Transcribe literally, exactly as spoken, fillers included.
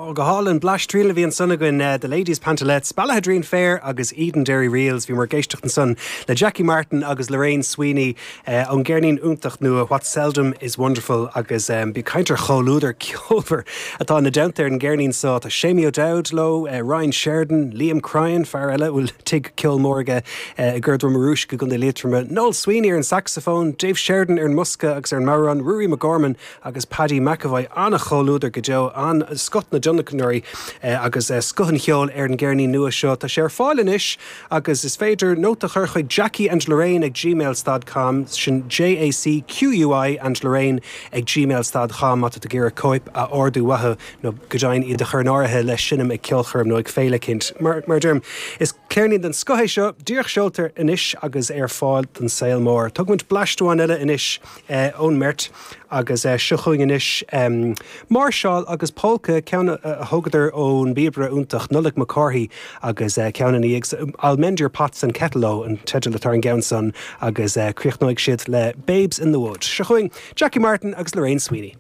Go hálainn blaistriail a bhí ansan againn uh, The Ladies Pantalettes, Ballaghaderreen Fair agus Edenderry Reels bhí muid ag éisteacht ansan le Jackie Martin agus Lorraine Sweeney uh, ón gceirnín iontach nua What Seldom is Wonderful agus um, bí caint ar chomhluadar ceolmhar atá ina dteannta ar an gceirnín seo tá Séamie O'Dowd leo, uh, Ryan Sheridan, Liam Cryan fear eile bhfuil tigh ceoil mór aige uh, i gCor Droma Rúis go Contae Liatroma, Noel Sweeney ar an saxophone, Dave Sheridan ar an mbosca agus ar an mbodhrán, Ruairí McGorman agus Paddy McAvoy an-chomhluadar go deo an scoth na dtionlacnóirí eh, agus eh, scoth an cheoil ar an gceirnín nua seo tá sé ar fáil anois agus is féidir nóta a chur chuig Jackie and Lorraine ag gmail.com sin JACQUI and Lorraine ag gmail.com má tá tú ag iarraidh cóip a ordú uathu nó go deimhin iad a chur in áirithe le seinm ag ceolchoirm nó ag féile eicínt. Mar mar deirim is ceirnín den scoth é seo díreach seolta anois agus ar fáil don saol mór. Tugaimid blaisteáin eile anois eh, ón mbeirt agus eh, seo chugainn anois um, máirseáil agus polca ceann a thógadar ón bpíobaire iontach Nollaig Mac Cárthaigh agus uh, ceann ag I'll mend your pots and kettle an teideal atá ar an gceann san agus uh, críochnóidh siad le Babes in the Wood. Seo chugainn Jackie Martin agus Lorraine Sweeney.